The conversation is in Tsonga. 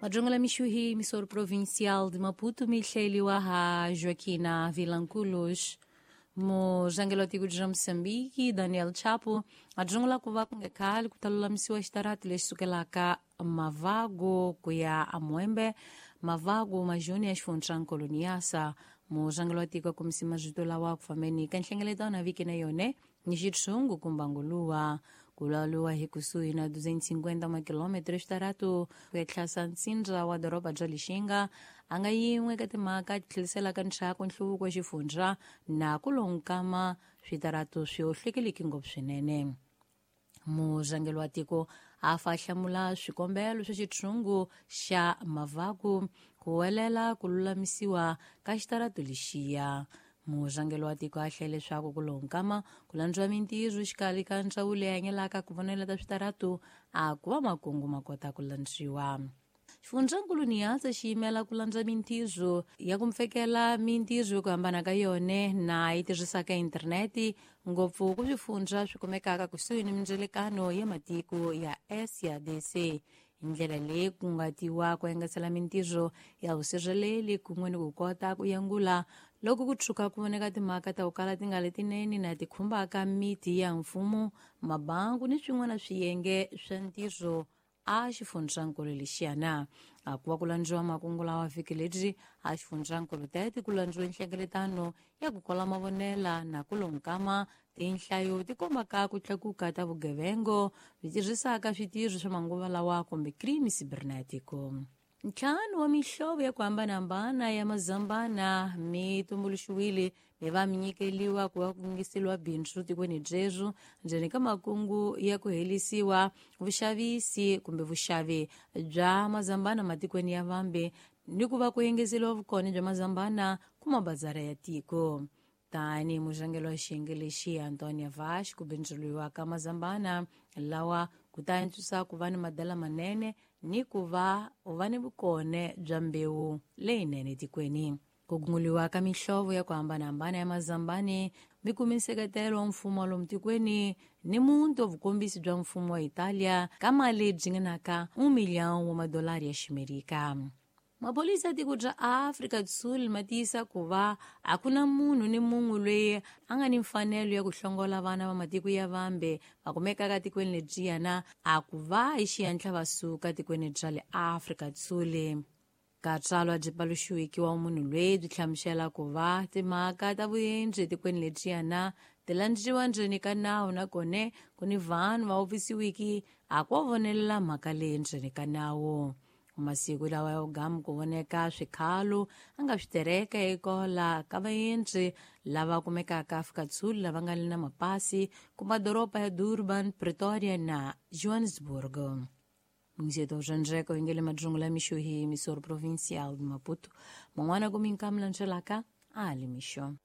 Madrongo mixuhi emissor provincial de Maputo, mihleliwa ha Joaquina Vilanculos. Muzangelo tiku bya Moçambique, Daniel Chapo, adrongo ku va ku nga khale ku ta lulamisiwa xitarati lexi sukelaka Mavago ku ya aMuembe, Mavago majoni ya xifundzankulu Niassa. Muzangelo wa tiko a kombise marito lawa ku fambeni ka nhlengeletano vhiki na yone ni xitshungu kumba nguluwa ku lwaliwa hi kusuhi na 250 makilometro xitaratu ku ya tlhasa ntsindza wa doroba bya Lixinga a nga yin'we ka timhaka ti tlheliselaka ndzhaku nhluvuko wa xifundza na ku lonkama switaratu swi hohlekeleki ngopfu swinene. Murhangeri wa tiko a fa hlamula swikombelo swa xitshungu xa Mavaku ku welela ku lulamisiwa ka xitaratu lexiya. Murhangeri wa tiko a hlele leswaku ku lonkama ku landziwa mintirho xikarhi ka ndzawulo leyi hanyelaka ku vonela ta switaratu a ku va makungu ma kota ku landziwa. Xifundzankulu Niassa xi yimela ku landza mintirho ya ku mpfekela mintirho yo ku hambana ka yone na yi tirhisaka interneti ngopfu ku swifundza swi kumekaka kusuhi ni mindzelekano ya matiko ya SADC. Hi ndlela leyi ku nga tiwa ku engetela mintirho ya vusirheleli kun'we ni ku kota ku yangula loko ku tshuka ku voneka timhaka ta ku kala ti nga letinene na ti khumbaka miti ya mfumo, mabangu ni swin'wana swiyenge swa ntirho a xifundzankulu lexiyana. A ku va ku landziwa makungu lawa vhiki ledyi a xifundzankulu tete ku landziwe nhlengeletano ya ku kola mavonela na ku lonkama tinhlayo ti kombaka ku tlakuka ta vugevengo byi tirhisaka switirho swa manguva lawa kumbe crime cibernetico. Ntlhanu wa mihlovo ya ku hambanahambana ya mazambana mi tumbuluxiwile mi va mi nyikeliwa ku va ku ngiseliwa bindzu tikweni byebyo ndzeni ka makungu ya ku helisiwa vuxavisi kumbe vuxavi bya mazambana matikweni ya vambe ni ku va ku engeteriwa vukona bya mazambana ku mabazara ya tiko. Tani murhangeri wa xiyenge lexi Antonia Vash ku bindzuriwa ka mazambana lawa ku ta antswisa ku va ni madala manene ni ku va u va ni vukone bya mbewu leyinene tikweni. Ku gunguliwa ka mihlovo ya ku hambanahambana ya mazambani mi kumi nseketelo wa mfumo wa lomu tikweni ni muntu wa vukombisi bya mfumo wa Italia ka mali byi ngenaka 1 milhão wa madolari ya Ximerika. Maphorisa ya tiko bya Afrika Sul ma tiyisa ku va a ku na munhu ni mun'we loyi a nga ni mfanelo ya ku hlongola vana va matiko ya vambe va kumekaka tikweni lebyiyana a ku va hi xihenhla va suka tikweni bya le Afrika Sul. Katsalwa byi paluxiwiki wa munhu loyi byi hlamusela ku va timhaka ta vuendzi etikweni lebyiyana ti landziwa ndzeni ka nawu nakona ku ni vanhu va wupfisiwiki a ku va vonelela mhaka leyi ndzeni ka nawu. Masiku lawa ya vugamu ku voneka swikhalo a nga swi tereka ekola ka vaendzi lava kumekaka Afrika-Dzonga lava nga le na mapasi ku madoroba ya Durban, Pretoria na Johannesburg. Mungzeto Janjeko ingele madrungu la mixo hi emissor provincial de Maputo. Man'wana ku minkamu landzelaka a li mixo.